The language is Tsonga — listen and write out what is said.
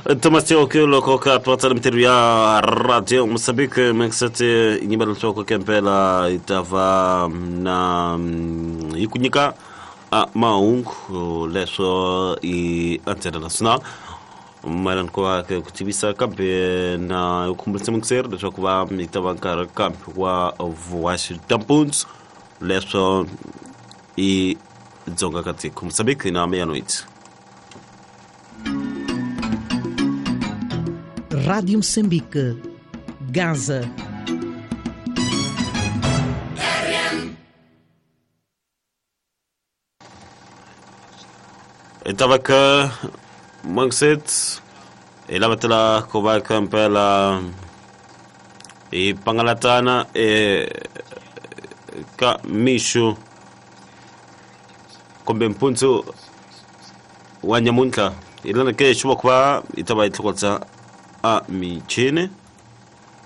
Thomas Tioke loko ka twatsala mintirho ya Radio Mozambique Mexete nyimba leswaku kempela yi ta va na yi ku nyika mahungu leswo i Antena Nacional mayelana ku va ku tivisa kambe na khumbulisa muyingiseri leswaku va yi ta va nkarhi kambe wa vuhaxi ta mpundzu leswo i dzonga ka tiko Mozambique na meia-noite. Rádio Moçambique, Gaza. Estava cá Mangset e lavatela ku va kampela hi pangalatana ka mixo kumbe mpundzu wa nyamuntlha hi lana ke xi va ku va yi ta va yi tlhokotsa a michini.